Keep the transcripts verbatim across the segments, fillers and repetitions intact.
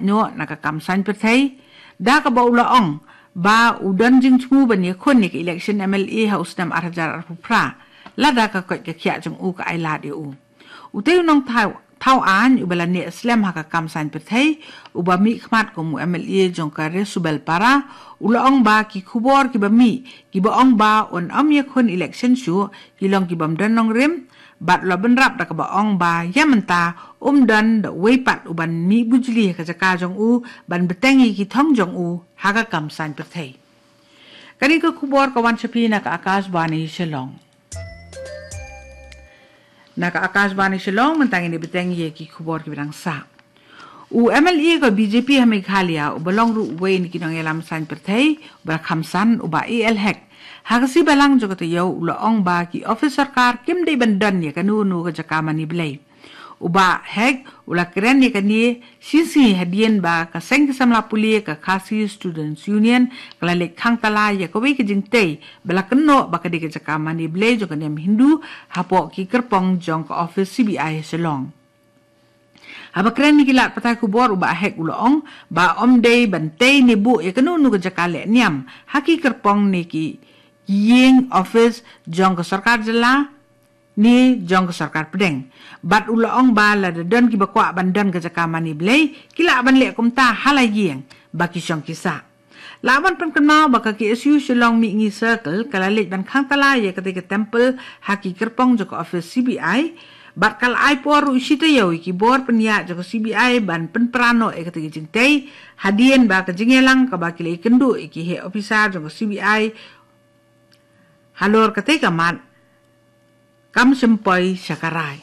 noh na ka kam saiñ pyrthei, da kaba u la ong ba u don jingthmu ban ïakhun ïa ka election M L A ha u snem ar hajar arphew phra, lada ka koit ka khiah jong u ka ai lad ïa u. Utei u nongthaw, thaw aiñ uba la neh slem ha ka kam saiñ pyrthei, uba mih khmat kum u M L A jong ka Resubelpara, u la ong ba ki khubor kiba mih, kiba ong ba un ym ïakhun election shuh, ki long ki bym don nongrim, bad u la bynrap da kaba ong ba ïa mynta um don da uwei pat uban mih bujli ha ka jaka jong u ban bteng ïa ki thong jong u ha ka kam saiñ pyrthei. Kane ka khubor ka wan sha phi na ka Akashvani Shillong. Na ka Akashvani Shillong, mynta ngin ïa bteng ïa ki khubor kiba dang sah. U M L A ka B J P ha Meghalaya, uba long ruh uwei na ki nongïalam saiñ pyrthei, uba la kham san, u Bah A L Hek, ha ka sngi Balang jong ka taïew u la ong ba ki office sorkar kim dei ban don ïa kano kano ka jaka mane blei. U Bah Hek u la kren ïa kane shisngi hadien ba ka seng ki samla pule ka Khasi Students Union ka la leit khang tala ïa kawei ka jingtei ba la kynnoh ba ka dei ka jaka mane blei jong ka niam Hindu hapoh ki kyrpong jong ka office C B I ha Shillong. Haba kren ïa ki lad pathai khubor, u Bah Hek u la ong ba ym dei ban tei ne buh ïa kano kano ka jaka leh niam ha ki kyrpong ne ki ïing office jong ka sorkar jylla ne jong ka sorkar pdeng. Bad u la ong ba lada don kiba kwah ban don ka jaka mane blei, ki lah ban leh kumta ha la ïing ba ki shong ki sah. Lah ban pynkynmaw ba ka K S U Shillong Mihngi Circle ka la leit ban khang tala ïa katei ka temple ha ki kyrpong jong ka office C B I, bad ka la ai por ruh shi taïew ïa ki bor pynïaid jong ka C B I ban pynpra noh ïa katei ka jingtei, hadien ba ka jingïalang kaba ki la ïakynduh ïa ki heh ophisar jong ka C B I halor katei ka mat kam shym poi sha ka rai.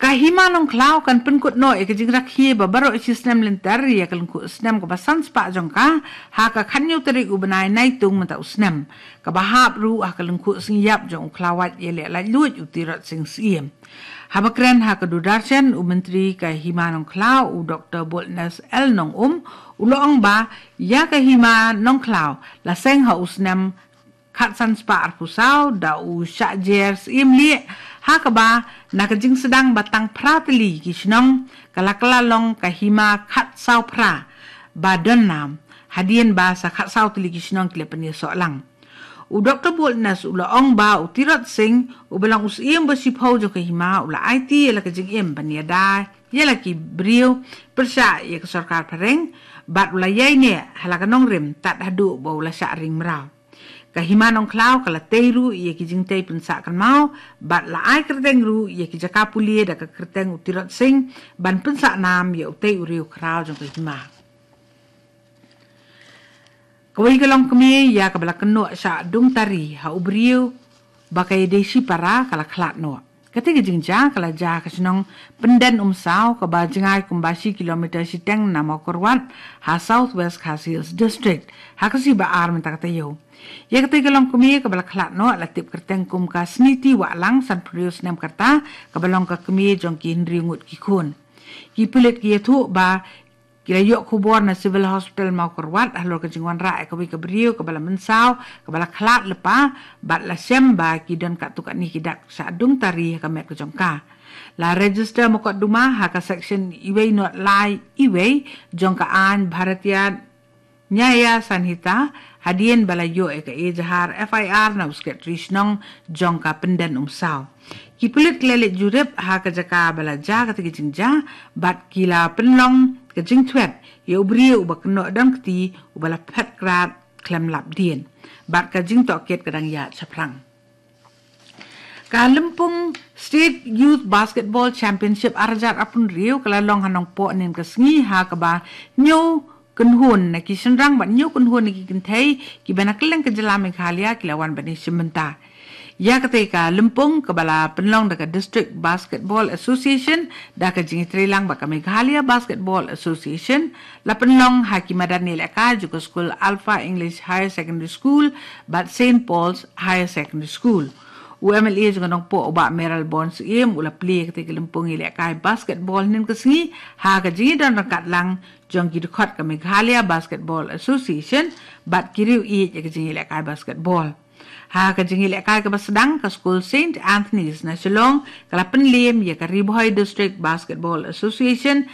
Ka Hima Nongkhlaw kan pynkut noh ïa ka jingrakhe ba baroh shi snem lynter ïa ka lyngkhuh snem kaba san spah jong ka ha ka khathynñiew tarik u bnai Naitung mynta u snem, kaba hap ruh ha ka lyngkhuh sngi ïap jong u khlawait ïaleh laitluid u Tirot Sing Syiem. Haba kren ha ka Doordarshan, u Myntri ka Hima Nongkhlaw, u Doktor Boldness L Nongum, u la ong ba ïa ka Hima Nongkhlaw la seng ha u snem khatsan spah arphew saw da u Shah Jer Syiem Lieh, ha kaba na ka jingsdang ba tang phra tylli ki shnong ka la kylla long ka hima khatsaw phra ba don nam, hadien ba sa khatsaw tylli ki shnong ki la pynïasoh lang. U Doktor Boldness u la ong ba u Tirot Sing, uba long u Syiem ba shiphew jong ka hima, u la aiti ïa la ka jingim ban ïada ïa la ki briew pyrshah ïa ka sorkar phareng, bad u la ïaineh ha la ka nongrim tad haduh ba u la shah ring mraw. Ka Hima Nongkhlaw ka la tei ruh ïa ki jingtei pynsah kynmaw, bad la ai kyrteng ruh ïa ki jaka pule da ka kyrteng u Tirot Sing ban pynsah nam ïa utei u riew khraw jong ka hima. Kawei ka longkmie ïa kaba la kynnoh shah dung tari ha u briew ba ka ïadei shipara ka la khlad noh. Katei ka jingjia ka la jia ha ka shnong Pyndenumsaw, kaba jngai kumba shi kilometer shiteng na Mawkyrwat ha South West Khasi Hills District, ha ka sngi ba ar mynta ka taïew. Ïa katei ka longkmie kaba la khlad noh la tip kyrteng kum ka Sniti Wahlang, sanphew hynriew snem ka rta, kaba long ka kmie jong ki hynriew ngut ki khun. Ki pulit ki ïathuh ba ki la ïoh khubor na Civil Hospital Mawkyrwat halor ka jingwanrah ïa kawei ka briew kaba la mynsaw, kaba la khlad lypa, bad la shem ba ki don katto katne ki dak shah dung tari ha ka met ka jong ka. La register mukotduma ha ka section uwei not lai uwei jong ka aiñ Bharatiya Nyaya Sanhita, hadien ba la ïoh ïa ka ejahar F I R na u Secretary Shnong jong ka Pyndenumsaw. Ki pulit ki la leit jurip ha ka jaka ba la jia katei ka jingjia, bad ki la pynlong ka jingthwet ïa u briew uba kynnoh dang kti, uba la phet krad khlem lap dien, bad ka jingtohkit ka dang ïaid shaphrang. Ka Lympung State Youth Basketball Championship ar hajar arphew hynriew ka la long ha Nongpoh hynnin ka sngi, ha kaba hynñiew kynhun na ki shynrang bad hynñiew kynhun na ki kynthei kiba na kylleng ka jylla Meghalaya ki la wan ban ïashim bynta. Ïa katei ka lympung, kaba la pynlong da ka District Basketball Association da ka jingïatreilang bad ka Meghalaya Basketball Association, la pynlong ha ki madan ïalehkai jong ka skul Alpha English Higher Secondary School bad Saint Paul's Higher Secondary School. U M L A jong ka Nongpoh, u Bah Mayralborn Syiem, u la plie ïa katei ka lympung ïalehkai basketball hynnin ka sngi ha ka jingïadon ryngkat lang jong ki dkhot ka Meghalaya Basketball Association bad ki riew ïeit ïa ka jingïalehkai basketball. Ha ka jingïalehkai kaba sdang, ka skul Saint Anthony's na Shillong ka la pynliem ïa ka Ri Bhoi District Basketball Association